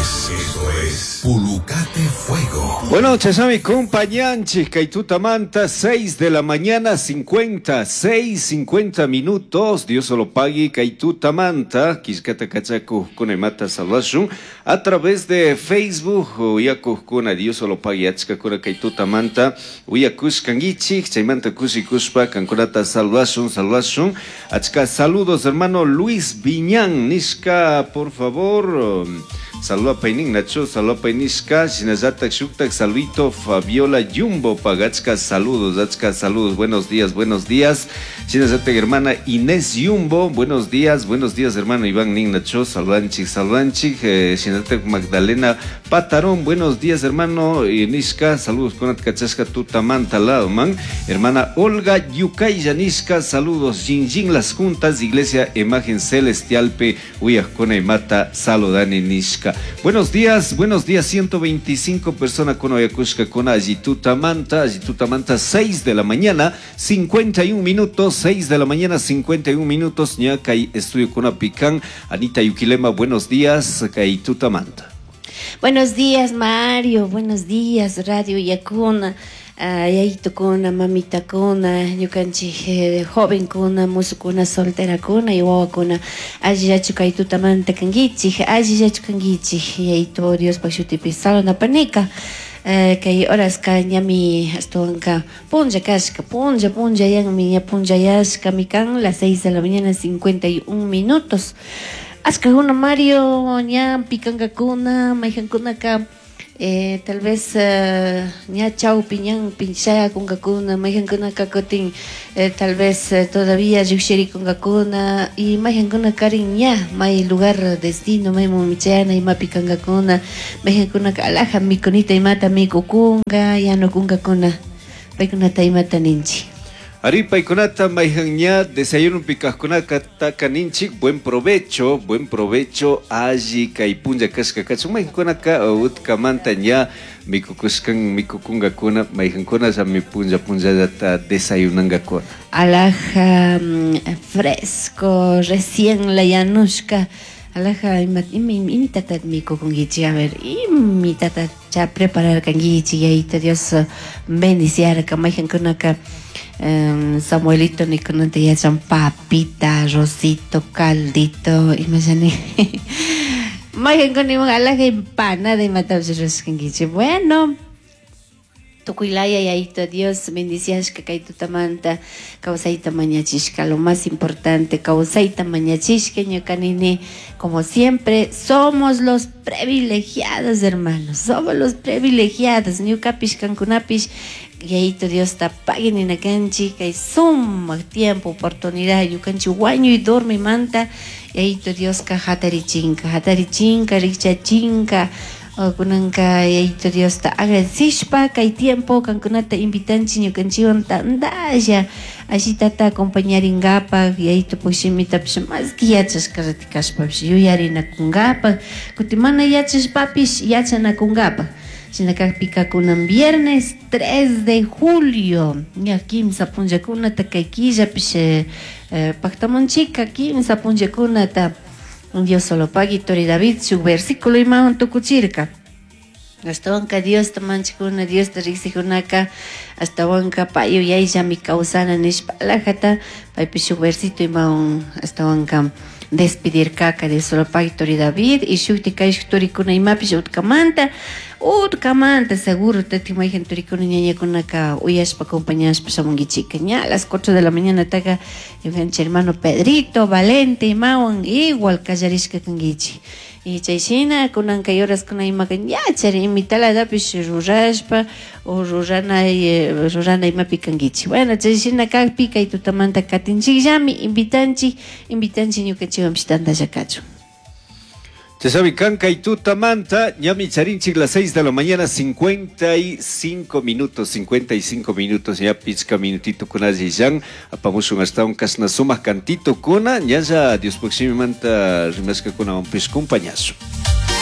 es, esto es Pulucate Fuego. Bueno, chashnami compañanchik kay tutamanta 6 de la mañana 50, 6, 50 minutos. Dios lo pague kay tutamanta. Killkata kachakuqkuna imata saludashun a través de Facebook uyakuqkuna Dios lo pague achkakuna kay tutamanta uyakushkankichik chaymanta kushikushpa kankunata saludashun, saludashun. Achka saludos hermano Luis Viñán nishka, por favor. Saludapaynin Nacho, saludapay nishka, shinallatak shuktak saludito Fabiola Jumbo pagachka saludos, achka saludos, buenos días, buenos días. Shinallatak hermana Inés Jumbo, buenos días hermano Iván Nin Nacho, saludanchik, saludanchik, shinallatak Magdalena Patarón, buenos días hermano nishka, saludos con kachashka tutamanta lado man. Hermana Olga Yucaya nishka, saludos, Jinjin las juntas, Iglesia Imagen Celestial P, Uyajcona y Mata, saludani nishka. Buenos días, 125 personas con Oyacushka, con Ayitutamanta, Ayitutamanta, 6 de la mañana, 51 minutos, 6 de la mañana, 51 minutos, ña kay estudio con Apicán, Anita Yuquilema, buenos días, Kay Tutamanta. Buenos días, Mario, buenos días, Radio Yacuna, yayitukuna, mamitakuna, ñukanchik jovenkuna, musukuna, solterakuna y wawakuna, allillachu kay tutamanta kankichik, allillachu kankichik, yayito Diospaj shutipi saludapanika. Kay horaska ñami ashtawanka punlla kashka, punlla, punlla yanmi, ña punllayashkami kan, las 6 de la mañana, 51 minutos. Ashkakuna Mario, ña pikankakuna, mayjankunaka, tal vez ña chawpi ñanpi shayakunkakuna, mayjankunaka kutin tal vez todavía llukshirikunkakuna, y mayjankunakarin ña may lugar destino, maymun chayana imapi kankakuna, mayjankunaka alhaja mikunita imata mikukunka, yanukunkakuna, paykunata imata ninchik. Ari paykunata mayjan ña desayuno pikajkunaka taka ninchik, buen provecho, buen provecho, alli kay punlla kashka kachun, mayjankunaka utkamanta ña mikukushkan, mikukunkakuna, mayjankuna llami punlla punllallata desayunankakuna. Alhaja, fresco, recién la yanushka, alhaja, ima, ima, imitata mikukunkichik, a ver, imitata cha prepararkankichik, yayito Dios bendiciarka, mayjankunaka, Samuelito nikunata yachan papita, arrocito, caldito, imashani. Mayjankuna iman alhaja empanada imatapish rurashkankichik. Bueno, tukuylaya yayito Dios bendiciashka kay tutamanta, kawsayta mañachishka, lo más importante, kawsayta mañachishka, ñuka nini, como siempre, somos los privilegiados, hermanos, somos los privilegiados, ñukapish, kankunapish, yayito Dios ta pagui ninakanchik, kay sumak tiempo, oportunidad, ñukanchik wañuy dormimanta, yayito Dioska hatarichinka, hatarichinka, rikchachinka, kunanka yayito Diosta agradecishpa kay tiempo kankunata invitanchik ñukanchikwan tantalla allitata acompañarinkapak, yayito pushimitapish maski yachashka ratikashpapish yuyarinakunkapak, kutin mana yachashpapish yachanakunkapak. Shina kakpika kunan viernes 3 de julio, ña kimsa punllakunata kay killapish paktamunchika kimsa punllakunata. Dios solo pagui Tori David shuk versículo imawan tukuchirka. Ashtawanka Diosta manchikuna, Diosta riksikunaka, ashtawanka pay yuyayllami kawsana nishpa alhajata, paypish shuk versito imawan ashtawanka despedirkaka Dios solo pagui Tori David, y shukti kayshuk turikuna imapish utkamanta, utkamanta seguro tati mayjan turikuna ñañakunaka uyashpa acompañashpa shamunkichika. Ña a las 4 de la mañana taka ñukanchik hermano Pedrito Valente imawan igual kallarishka kankichik. Y chay shina kunanka horaskuna imaka ñachari imitalatapish rurashpa o rurana imapi kankichik. Bueno, chay shina kakpi kay tutamanta katinchikllami, invitanchik, invitanchik ñukanchikwanpish tantalla kachun. Chasabi kanka y tutamanta, ñami charinchik las 6 de la mañana, 55 minutos, 55 minutos, ya pichka minutito con allí yan, apamushun hasta un kasna sumas cantito kuna, ñaya Dios manta rimaska kuna un compañazo.